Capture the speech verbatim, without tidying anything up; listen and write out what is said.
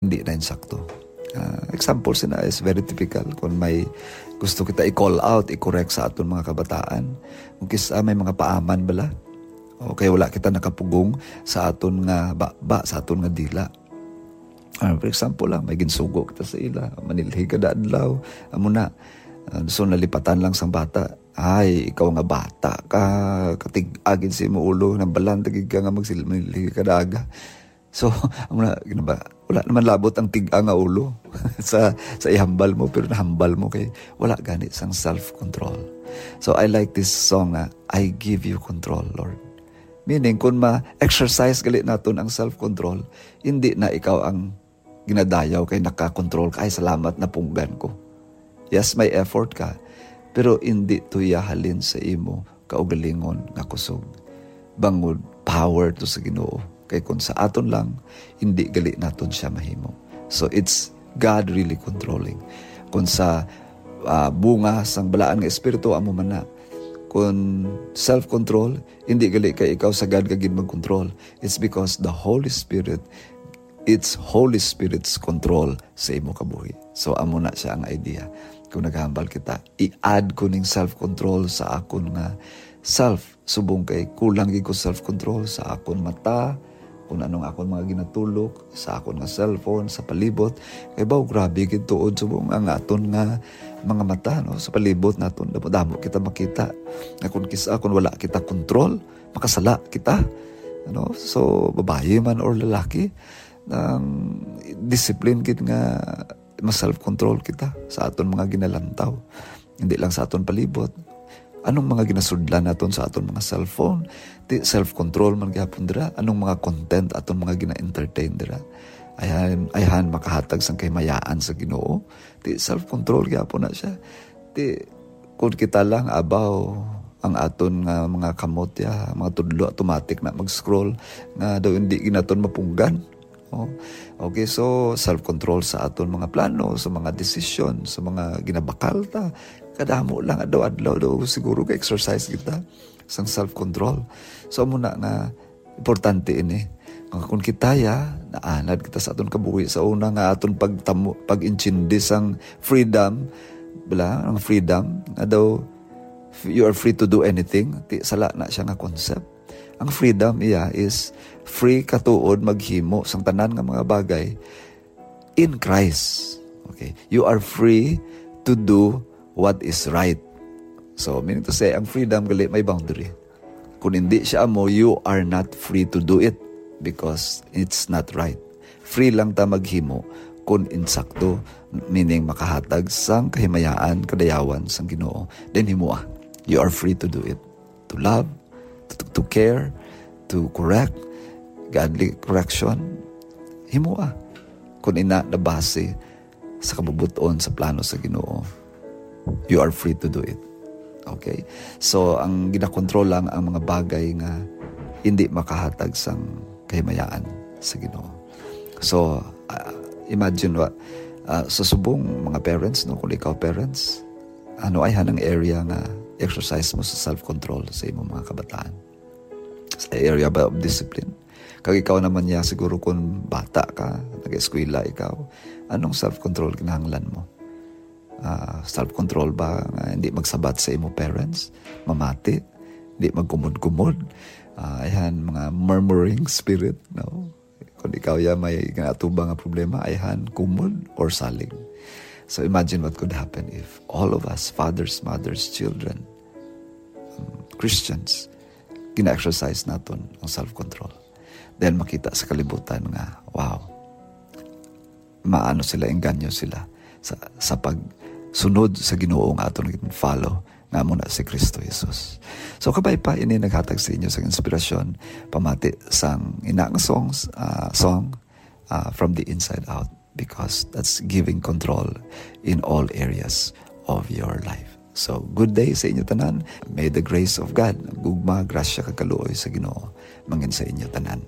hindi na insakto. Ah, example sina is very typical. Kung may gusto kita i-call out, i-correct sa aton mga kabataan, kung kisa may mga paaman bala, o kaya wala kita nakapugong sa aton nga baba, sa aton nga dila. Ah, for example lang, may ginsugo kita sa ila, manilhi kada adlaw, amo na. Ah, so nalipatan lang sang bata, "Ay, ikaw nga bata ka, katig-a gid sa imo ulo, nambalan ta gid ka nga magsil-, manilhi kada aga." So, amo na, gina ba, wala naman labot ang tig-a nga ulo sa, sa ihambal mo, pero nahambal mo kay wala gani sang self-control. So, I like this song na, "I give you control, Lord." Meaning, kung ma-exercise gali naton ang self-control, hindi na ikaw ang ginadayaw kay nakakontrol ka, "Ay, salamat, napunggan ko." Yes, may effort ka, pero hindi to iya halin sa imo kaugalingon nga kusog. Bangod power to sa Ginoo, kay kung sa aton lang, hindi gali naton siya mahimo. So it's God really controlling. Kung sa, ah, bunga sang balaan nga espiritu, amo man na. Kung self-control, hindi gali kay ikaw sagad ka gid mag-control. It's because the Holy Spirit, it's Holy Spirit's control sa imo kabuhi. So amo na siya ang idea. Kung naghambal kita, i-add ko ning self-control sa akon nga self. Subong kay kulang gid ko self-control sa akon mata, kung anong akon mga ginatulok, sa akon nga cellphone, sa palibot. Kay baw, grabe gid tuod subong ang aton nga mga mata, no? Sa palibot naton, damo-damo kita makita. Nga kung kis-, kung wala kita control, makasala kita. Ano? So, babayi man or lalaki, ang discipline gid nga ma-self-control kita sa aton mga ginalantaw. Hindi lang sa aton palibot. Anong mga ginasudlan naton sa aton mga cellphone? Ti self-control man gyapon dira. Anong mga content aton mga gina-entertain dira? Ayhan, ayhan makahatag sang kahimayaan sa Ginoo. Ti self-control gyapon na siya. Ti kung kita lang, abaw, ang aton nga mga kamot ya, mga tudlo, automatic na mag-scroll nga daw hindi ginaton mapunggan. Oh. Okay, so self-control sa aton mga plano, sa mga desisyon, sa mga ginabakal ta. Kadamo lang adlaw-adlaw daw siguro ka-exercise kita sang self-control. So amo na nga importante ini. Nga kung kita ya, naanad kita sa aton kabuhi sa una nga aton pagtamo, pag-intindi sang freedom, bala, ang freedom, nga daw, you are free to do anything. Ti, sala na siya nga concept. Ang freedom iya is free ka tuod maghimo sang tanan nga mga bagay in Christ. Okay? You are free to do what is right. So, meaning to say, ang freedom gali may boundary. Kung hindi siya amo, you are not free to do it because it's not right. Free lang ta maghimo kung insakto, meaning makahatag sang kahimayaan, kadayawan sang Ginoo, then himoa. You are free to do it. To love, to, to care, to correct, godly correction, himoa. Kung ina nabase sa kabubut-on sa plano sa Ginoo, you are free to do it. Okay? So, ang ginakontrol lang ang mga bagay nga hindi makahatag sang kahimayaan sa Ginoo. So, ah, imagine wa, ah, sa subong mga parents, no, kung ikaw parents, ano ay hanang area nga exercise mo sa self-control sa imong mga kabataan? Sa area ba of discipline? Kag ikaw naman niya, siguro kung bata ka, nag-eskwela ikaw, anong self-control kinahanglan mo? Ah, self-control ba nga hindi magsabat sa imo parents? Mamati? Hindi magkumod-kumod? Ah, ayan, mga murmuring spirit, no? Kung ikaw ya may ginatubang nga problema, ayan, kumod or salig. So imagine what could happen if all of us, fathers, mothers, children, um, Christians, gina-exercise naton ang self-control. Then makita sa kalibutan nga, wow, maano sila, engganyo sila sa, sa pagsunod sa Ginoo nga aton gin-follow, nga amo na si Kristo Jesus. So, kabay pa ini naghatag sa inyo sang inspirasyon pamati sang ina nga songs, ah, song, ah, From the Inside Out, because that's giving control in all areas of your life. So, good day sa inyo tanan. May the grace of God, gugma, grasya, kag kaluoy sa Ginoo, mangin sa inyo tanan.